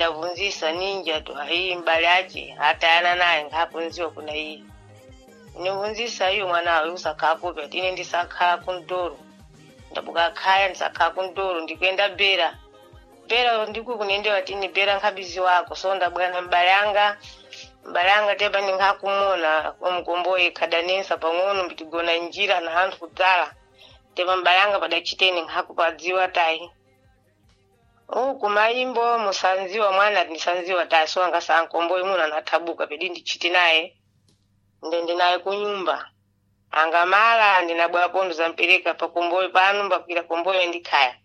Ndavunzisa ninja tu ayi mbale ache atayana naye nkhapunziwa kuna iye. Nivunzisa iyo mwana uyu usakhakupa ati ine ndisakhala kundoro, ndabuka khaya ndisakhala kundoro, ndikuenda bera bera ndiku kunendewa tini bera nkhabizi wako. So ndabwana mbale anga, mbale anga tepa ninkhakumona omkomboyi khadanensa pang'ono mbitigona njira na anthu kudzala tepa mbale anga padachiteni nkhakupadziwa tayi uku mayimbo musanziwa mwana ndisanziwa tayi. So angasankomboyi muno anathabuka pedi ndichiti naye ndende naye kunyumba angamala ndinabwera pondo zampereka pakomboyo pano mbakwira komboyo ndikhaya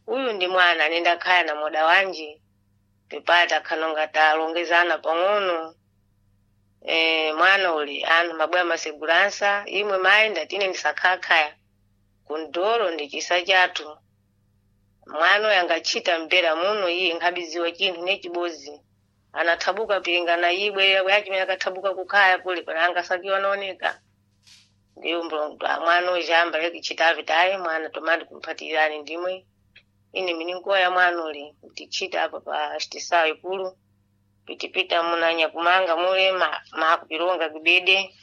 uyu ndi mwana anenda khaya na moda wanje pepata khanonga talongezana pang'ono. Mwana uli anu mabwera maseguransa imwe mayi ndatine ndisakhakhaya kundoro ndichisa chathu mwana uyu angachita mbera muno iye nkhabiziwa chinthu nechibozi anathabuka pilingana ibwe yachimene akathabuka kukhaya kule pana angasakiwa naoneka ndiyo mlongo mwana uyu jamba lekichitavi tayi mwana tomandi kumphatirani ndimwe ine mininkuwa ya mwana uli tichita apa pa xitisawo ikulu pitipita munanya kumanga mule makupilonga kibede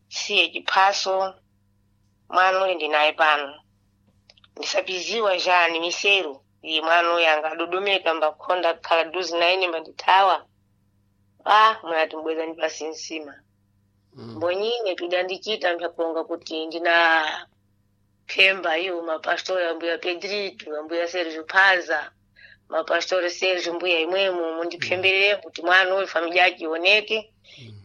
siye chiphaso mwana uli ndinaye pano ndisapiziwa jani miseru iye mwana uyu angadodomeka mbakhonda khala duzi na ine mbandithawa ah mwana timbweza ndi pasi nsima. Mbonyine pidandichita mpyakulonga kuti ndina phemba iwo mapastori ambuya Pedrito, ambuya Sergio Phaza, mapastori Sergio mbuya imwemo mundiphemberere kuti mwana uyu family yake ioneke.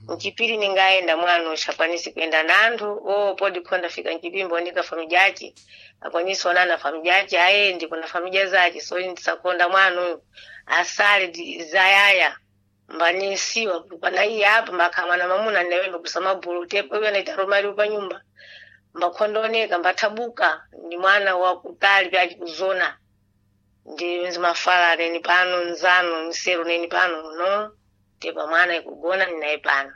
Mchipiri ningaenda mwana uyu shakwanisi kuenda nanthu o podi khonda fika mchipimbo ndika family yake akwanisi onana family yake ayendi kuna familia zake. So ndisakonda mwana uyu asale zayaya mbanisiwa pana iye apa mbakhamwana mamuna ndinawemba kusamabulu tepo iwe anaita romali pa nyumba mbakhondooneka mbathabuka ndi mwana wakutali pyachi kuzona ndi nzimafala neni pano nzano nseru neni pano no tepa mwana ikugona ninaye pano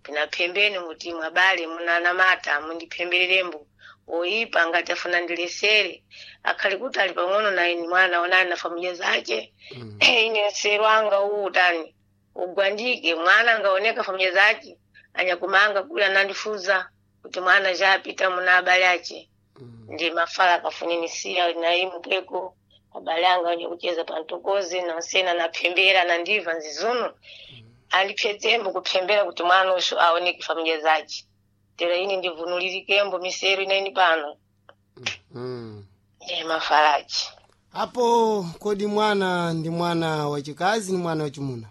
pinaphembeni kuti mwabale munanamata mundiphembererembo oipa ngati afuna ndilesere akhali kuti ali pang'ono naye ni mwana onani na familia zace. Ine nseru anga uwu tani ugwandike mwana angaoneka familia zace anyakumanga kule anandifuza kuti mwana japita muna abale ace ndi mafala akafunenisiya naye mupweko abale anga wenye kucheza pantokozi nansena naphembera nandiva nzizuno andiphetsembo kuphembera kuti mwana usho aoneke familia zace tera ine ndivunulirikembo miseru inaini pano. Ndiye mafalachi. Apo kodi mwana ndi mwana wachikazi ni mwana wachimuna?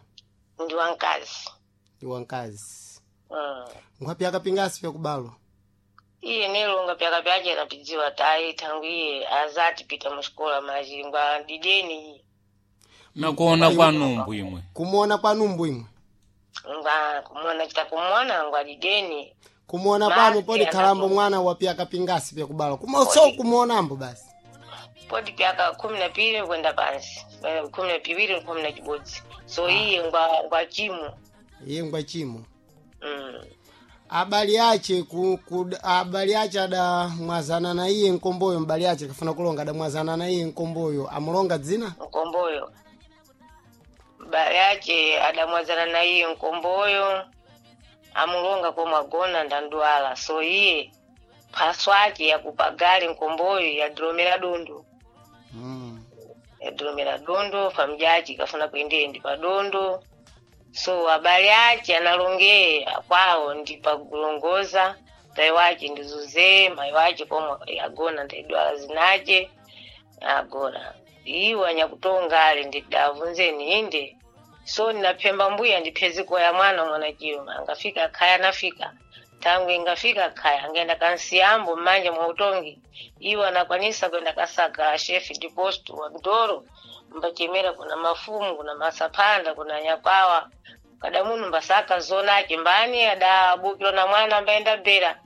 Ndi wankazi. Ndi wankazi. Nkhwapi akapingasi pyakubalwa? Iye nelonga pyaka pyace anapidziwa tayi thangu iye azati pita muxikola majingwa dideni iye. Nakuona kwa numbu imwe. Kumuona kwa numbu imwe. Ngwa kumona chita kumona ngwa dideni. Kumuona Basi, pano podi khalambo anapo. Mwana wa pyaka pingasi pyakubalwa kuma so kumuonambo basi. Podi pyaka 12 kwenda pansi. 12, 11 so iye ngwa ngwa chimo. Iye ngwa chimo. Mm. Abali ache ku abali ache adamwazana na iye nkomboyo mbali ache kafuna kulonga adamwazana na iye nkomboyo amulonga dzina. Nkomboyo mbali yace adamwazana na iye nkomboyo amulonga komwe agona ndandwala so iye phaso ake yakupagali nkomboyo yadilomera dondo. Yadilomera dondo famjaci ikafuna kuendendi pa dondo so abale ace analongeye kwawo ndi pakulongoza tayi wace ndi zuze mayi wace komwe agona ndaidwala zinace agora iwo anyakutonga ali ndidavunzeni inde so ndinaphemba mbuya ndipheziko ya mwana mwana chiyuma angafika khaya anafika tangu ingafika khaya angaenda kansiyambo mmanja mwa utongi iwo anakwanisa kwenda kasaka shefi diposto wa mtoro mbachemera kuna mafumu kuna masaphanda kuna nyakwawa kada munu mbasaka zonake mbani adabukilwa na mwana ambaenda bera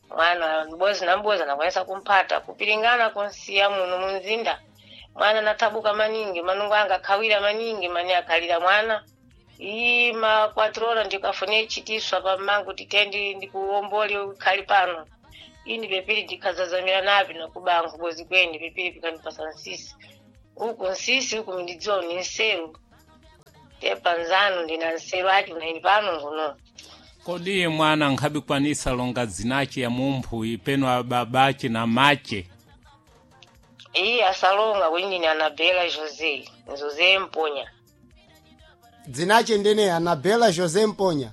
mwana mbozi na mbozi anakwanisa kumphata kupilingana kunsiya muno munzinda mwana nathabuka maningi manungo anga akhawira maningi mani akhalira mwana iyi makwatrora ndikafune chitiswa pammangu titendi ndikuwombole ukhali pano ini pepiri ndikhazazamira napi nakubango bozi kweni pepiri pikandipasa nsisi uku nsisi uku mindidziwa ni nseru. Tepa nzanu ndina nseru achi unaini pano nguno. Kodi mwana nkhabikwanisa longa dzinache ya mumphu ipeno ababache na mache. Iye asalonga kuti ndine Anabela Jose, Jose Mponya. Dzinache ndene Anabela Jose Mponya.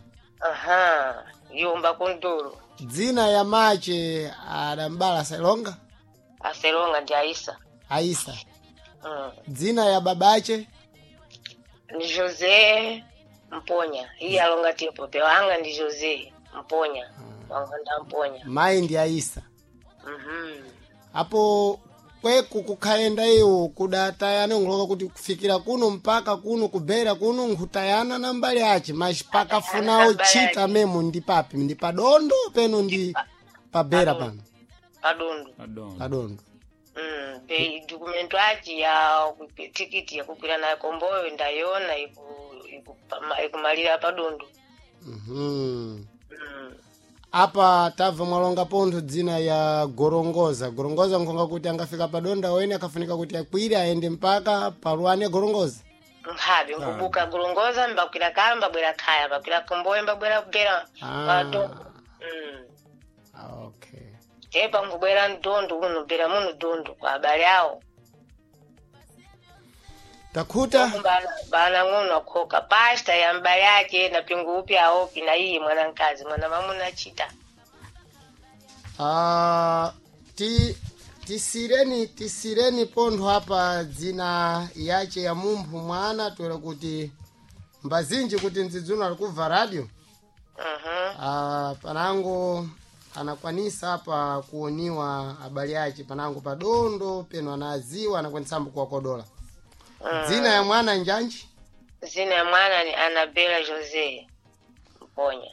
Aha, yomba kuntolo. Dzina ya mache adambala asalonga. Aselonga ndi Aisa. Aisa. Mm. Dzina ya babache Ndi Jose Mponya. Iye alonga tipo pewanga ndi Jose Mponya. Wanganda Mponya. mayi ndi Aisa. Mhm. Apo kweku kukhaenda iwo kudatayana nkuloka kuti kufikira kuno mpaka kuno kubera kuno nkhutayana na mbali ache mas pakafunawo chita memo ndi papi ndi padondo peno ndi pabera pano. Padondo. Adondo. Padondo. Be dokumento achi ya tikiti yakukwira nayo komboyo ndayona ikumalira padondo. Mhm. Mm. Apa tabva mwalonga pontho dzina ya Gorongoza. Gorongoza nkhonga kuti angafika padonda wene akafunika kuti akwire aende mpaka paluane Gorongoza. Nkhabe nkubuka Gorongoza mbakwira kaya mbabwera khaya mbakwira komboyo mbabwera kubera Ah. padondo. Mm. Okay. Tepa nkubwera mdondo uno bera muno dondo kwa abale awo. Takhuta. Bana ng'ono akhoka pasta ya mbale ake na pingu upi aopi na iye mwana mkazi mwana mamuna achita. Ah, ti tisireni pontho apa dzina yache ya mumphu mwana toera kuti mbazinji kuti ndzidzuno ali kubva radio. Mhm. Ah, panango anakwanisa apa kuoniwa abale ache panango padondo peno anaziwa anakwanisambo kuwakodola. Dzina ya mwana njanji. Zina ya mwana ni Anabela Jose Mponya.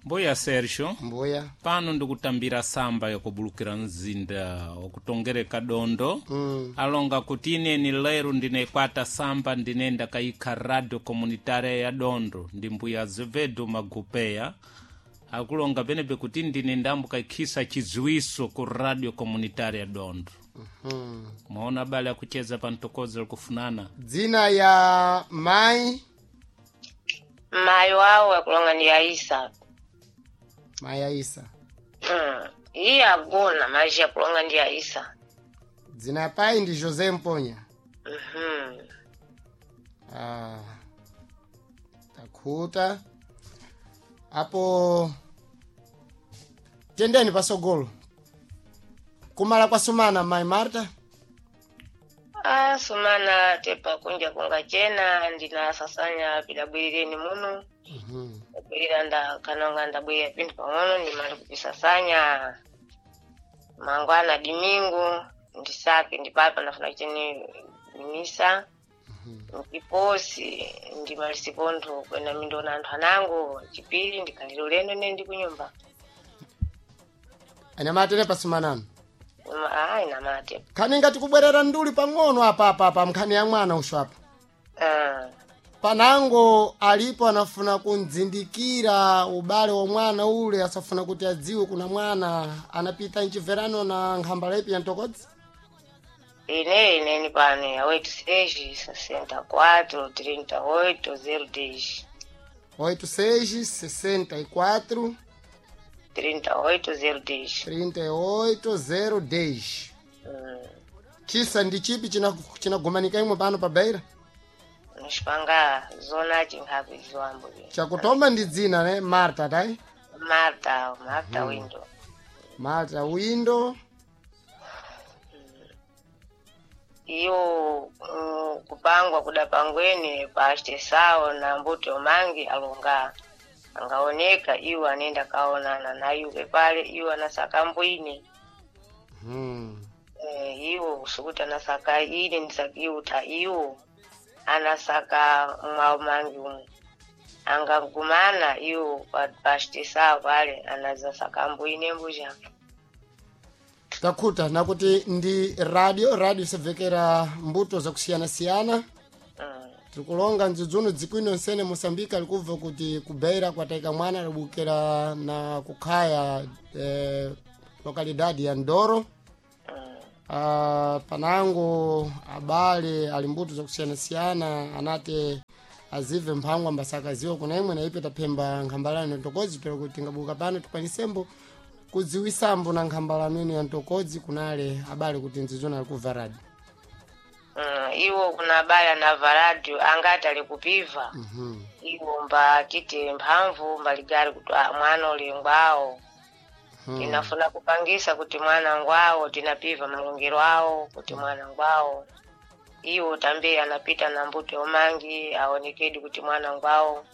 Mbuya Sergio. Mbuya. Pano ndikutambira samba yakubulukira mzinda wakutongereka dondo. Alonga kuti ineni lero ndinekwata samba ndinenda kayikha radio comunitaria ya dondo ndi mbuya Azevedo Magupeya akulonga penepe kuti ndine ndambukayikhisa chidziwiso ku radio comunitaria ya dondo. Mwaona abale akucheza pa mtokozo likufunana. Dzina ya mai. Mayi wawo akulonga ndi Aisa. Mai Aisa. Mm. Iye agona maji akulonga ndi Aisa. Dzina ya pai ndi Jose Mponya. Mhm. Ah, takhuta apo tendeni pasogolo kumala kwa sumana mai Marta. Ah, sumana tepa kunja kunga chena ndinasasanya pidabwirireni muno. Ndabwirira ndakanonga ndabwirira pinthu pang'ono ndimali kupisasanya mangwana dimingu ndisake ndipapa ndafuna cheni misa ndiposi ndimalisi pontho kwena mindona anthu anango chipiri ndikhalire ulendo ne ndi kunyumba. Anyamatere pasumanano. Ayi namate. Nkhani ngati kubwerera nduli pang'ono apa apa apa nkhani ya mwana usho apa. Ah. Panango alipo anafuna kundzindikira ubale wa mwana ule asafuna kuti adziwe kuna mwana anapita mchimverano na nkhambala ipi ya mtokodzi. Ine ineni pano ya 86 64 38 010. 86 64 38 010. 38 010. Chisa ndi chipi chinagumanika imwe pano pa Beira? Nixipanga zona chinkhapi ziwambo. Chakutoma ndi dzina ne Marta tai? Marta, Marta Window. Marta Window. Iyo kupangwa kuda pangweni pachitesawo na mbuto mangi alonga angaoneka iwo anenda kaonana na iwe pale iwo anasaka mbwini. Iwo kusukuti anasaka ine ndisakiuta iwo anasaka mwawo mangi umu angagumana iwo pachitesawo pale anazasaka mbwini mbuja. Takhuta nakuti ndi radio isabvekera mbuto zakusiyana-siyana. Tirikulonga ndzidzuno dzikwino nsene Moçambique alikubva kuti kubeira kwataika mwana alibukira na kukhaya lokalidade ya Ndoro. Panango abale ali mbuto zakusiyana-siyana anati Azive mphangwa mbasakaziwa kuna imwe na ipe taphemba nkhambalano ya ntokodzi pero kuti ngabuka pano tikwanisembo kudziwisambo na nkhambalano ino ya ntokodzi kunale abale kuti nzizona alikuva radio. Iwo kuna abale anava radio angati ali kupiva. Iwo mbatite mphamvu mbaligari kuti ah, mwana uli ngwawo. Tinafuna kupangisa kuti mwana ngwawo, tinapiva malongero awo kuti mwana ngwawo. Iwo tambe anapita na mbuto omangi aonekedi kuti mwana ngwawo.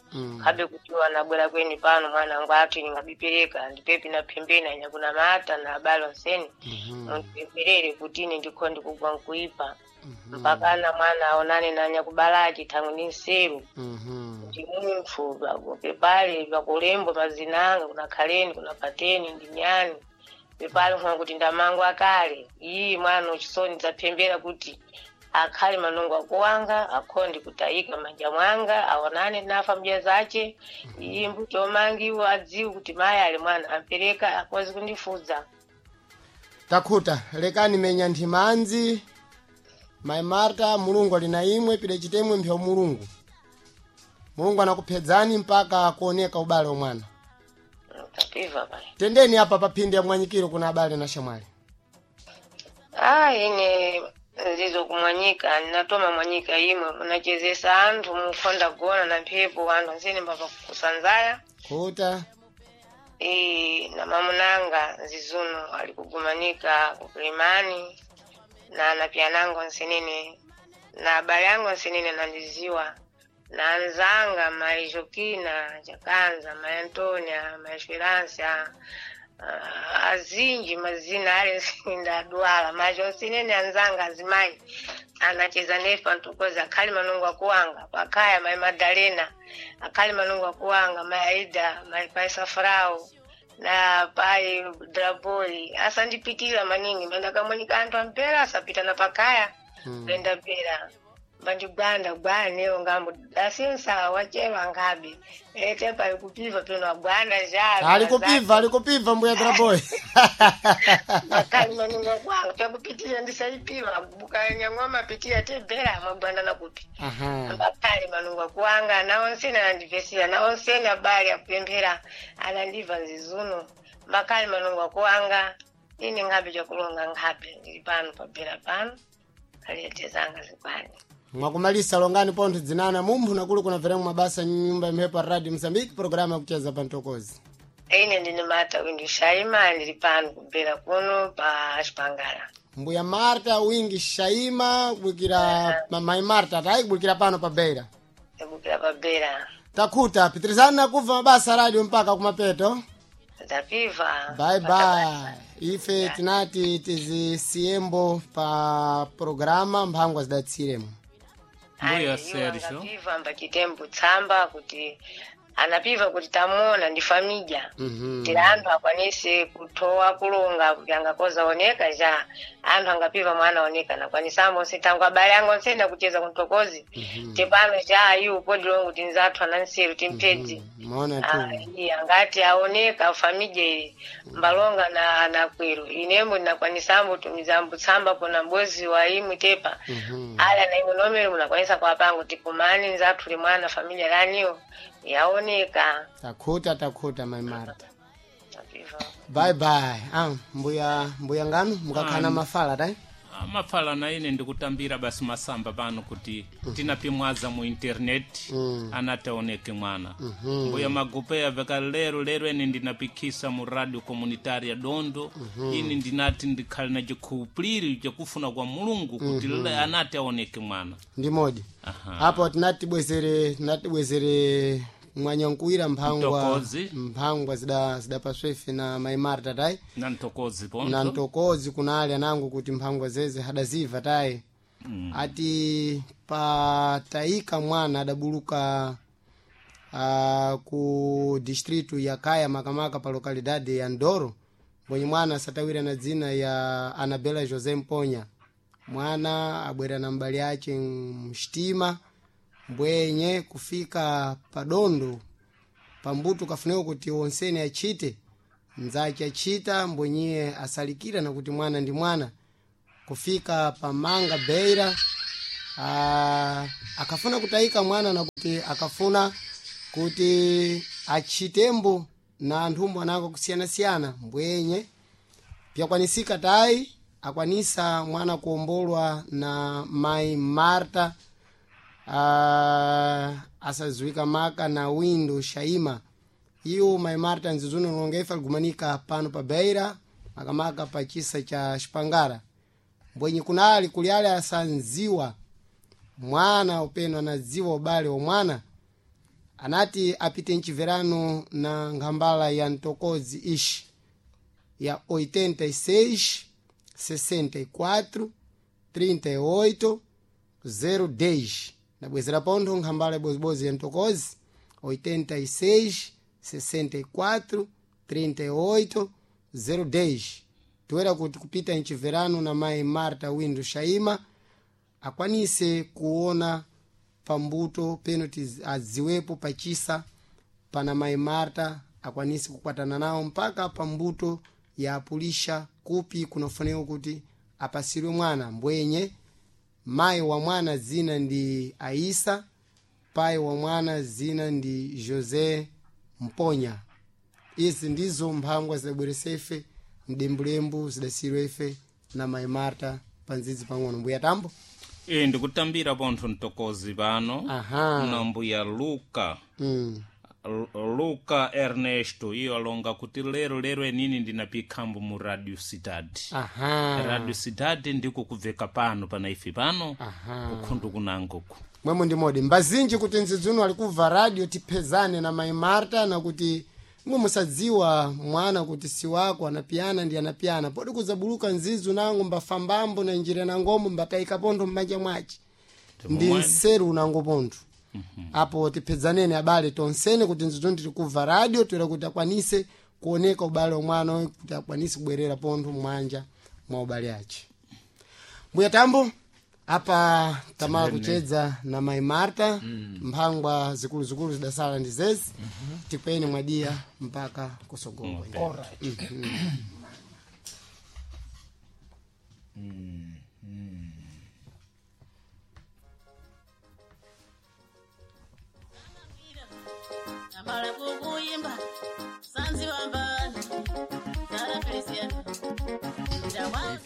Khabe kuti iwo anabwera kweni pano mwana ngwathu ningabipereka ndipepi na phembeni anyakuna mata na abale onseni. Mundipempherere kuti ine ndikho ndikugwa nkuipa. Mpakana mwana aonane na anyakubalachi thangwi ni nseru. Ndi munthu pepale pakulembo mazina anga kuna khaleni kuna pateni ndi nyani pepale nkhola kuti ndamango akale iyi mwana uchisoni dzaphembera kuti akhale manungo akuwanga akhonde kutayika manja mwanga aonane nafa mja zace iyi mbuto omangi iwo adziwe kuti mayi ali mwana ampereka akwazi kundifudza. Takhuta lekani menya nthimanzi mayi Marta, mulungu ali na imwe pide chitemwe mpya mulungu. Mulungu anakuphedzani mpaka kuoneka ubale wa mwana. Tapiva pale. Tendeni apa paphindi ya mwanyikiro kuna abale na shamwali. Ah, ine nzizo kumwanyika ninatoma mwanyika imwe munachezesa anthu mukhonda gona na mphepo anthu ansene mbapa kusanzaya. Khuta. E, na mamunanga nzizuno ali kugumanika kukilimani na napyanango nsenene na abale ango nsenene nandiziwa na anzanga mayi Jokina Jakanza, mayi Antonia, mayi Esperança, azinji mazina ale ndadwala macho nsenene anzanga azimayi anacheza nefa ntukoza akhali manungu akuwanga pakhaya mayi Madalena akhali manungu akuwanga mayi Aida mayi pai Safrao na pai Draboi asandipitira maningi mandakamwanyika anthu ampera asapita na pakaya. Lenda pera mbandigwanda gwanewo ngambo asinsa wachewa ngabe ete pai kupiva peno agwanda zha Ali kupiva, ali kupiva mbuya Draboy. Makali manungo kwanga pyakupitira ndisaipiva buka nyang'oma pitira tebera magwanda nakupi. Mbakali manungo kuwanga naonsene anandivesera naonsene abali akupemphera anandiva nzizuno mbakali manungo kuwanga ine ngabe chakulonga ngabe ndili pano pabera pano aliyetezanga zikwani. Mwakumalisa longani pontho dzinana mumphu nakulu kuna veremu mabasa nyumba ya mphepo radio Mozambique programa yakucheza pa ntokozi. Ine ndine Marta Wingi Shaima ndili pano kubera kuno pa Xipangala. Mbuya Marta Wingi Shaima kubukira mayi Marta tayi kubukira pano pa Beira. Kubukira pa Beira. Takhuta pitirizani nakuva mabasa radio mpaka kumapeto. Tapiva. Bye bye. Ife tinati tizisiyembo pa programa mphangwa zidatsiremo. Mbuya Sergio. Angapiva mbachitembo tsamba kuti anapiva kuti tamuona ndi famidya. Tira anthu akwanise kuthowa kulonga kuti angakoza oneka ja anthu angapiva mwana oneka nakwanisambo nsetango abale ango nsena kucheza kuntokozi. Tepano ja iwo podilongo kuti nzathu ananseru timphedzi. Maona tu. Iye angati aoneka famidya ili mbalonga na na kwero inembo ndinakwanisambo tumizambo tsamba kuna mbozi wa imwe tepa. Ala na imwe nomero munakwanisa kuwapango tipumani nzathu limwana familia laniyo yaoneka. Takhuta takhuta mayi Marta. Tapiva. Bye bye. Ah, mbuya mbuya nganu mukakhala mafala tayi. Mafala na ine ndikutambira basi masamba pano kuti tinapimwaza mu internet anataoneke mwana. Mbuya magupeya veka lero lero ene ndinapikisa mu radio comunitaria Dondo. Ini ndinati ndikhale na chikhulupiriro chakufuna kwa mulungu kuti anati aoneke mwana. Ndi modi. Apo tinati bwezere tinati bwezere mwanyankuwira mphangwa Mtokozi. mphangwa zidapaswa ife na mayi Marta tayi. Na mtokozi ponso. Na ntokozi kuna ali anangu kuti mphangwa zeze hadaziva tayi. Ati patayika mwana adabuluka ku distritu ya Kaya makamaka pa lokalidade ya Ndoro mbwenye mwana asatawira na dzina ya Anabela José Mponya. Mwana abwera na mbali ace mxitima mbwenye kufika padondo pambuto kafuneka kuti wonsene achite mnzace achita mbwenyiye asalikira na kuti mwana ndi mwana kufika pamanga Beira Akafuna kutayika mwana na kuti akafuna kuti achitembo na anthumbo anako kusiyanasiyana mbwenye pyakwanisika tayi akwanisa mwana kuombolwa na mai Marta asaziwika maka na Windo Shaima. Iyo mai Marta nzizuno longefa ligumanika pano pa Beira makamaka pa chisa cha Xipangara. Mbwenye kunali kuliale asanziwa mwana upeno anadziwa ubale wa mwana anati apite mchiverano na nkhambala ya mtokozi ishi ya 86 64 38 010. Nabwezera pontho nkhambala ibozibodzi ya mtokozi 86 64 38 010. Toera kuti kupita mchiverano na mai Marta Windo Shaima akwanise kuona pambuto peno adziwepo pachisa pana mai Marta akwanise kukwatana nawo mpaka pambuto ya apulisha kupi kunafunika kuti apasirwe mwana. Mbwenye mayi wa mwana zina ndi Aisa, pai wa mwana zina ndi José Mponya. Izi ndizo mphangwa zidabweresa ife mdembulembu zidasiyirwa ife na mai Marta pandzidzi pang'ono. Mbuya Tambo. E ndikutambira pontho mtokozi pano. Aha. Na mbuya Luka. Luka Ernesto iyo alonga kuti lero lero enini ndinapikhambo mu Radio Cidade. Aha. Radio Cidade ndiko kubveka pano pana ife pano. Aha. Kukhundu kunangoku. Mwemo ndi modi mbazinji kuti nzidzuno alikubva radio tiphezane na mai Marta na kuti mwe musadziwa mwana kuti si wako anapiyana ndi anapiyana podi kuzabuluka nzizu nango mbafambambo na njira nangomo mbatayika pontho m'manja mwace ndi nseru unango pontho. Apo tiphedzaneni abale tonsene kuti nzidzuno tili kubva radio toera kuti akwanise kuoneka ubale wa mwana uyu kuti akwanise kubwerera pontho m'manja mwa ubale ace. Mbuya Tambo, apa tamala kuchedza na mai Marta. Mphangwa zikuluzikulu zidasala ndi zezi. Tipeni mwadiya mpaka kusogolo. Alright. Amala kukuyimba sanzi wambani Sara Feliciano.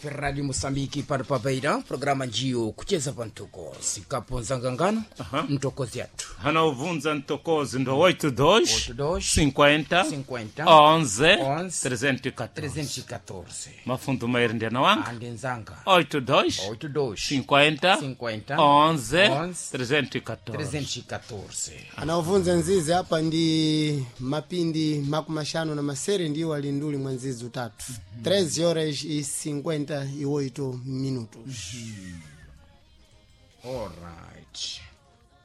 Radio Mosambiki pano pa Beira, programa njiyo kucheza pa mtokozi kaponza ngangano mtokozi yathu Hana ubvunza mtokozi ndo 82 82 50 50 11 11 314. 314. Mafundo mairi ndiana wanga ande nzanga 82 82 50 50 11 11 314. 314. Anaovunza nzizi apa ndi mapindi makumaxanu na masere ndiwo ali nduli mwa nzizi utatu. 3 horas e 58 minutos. Alright.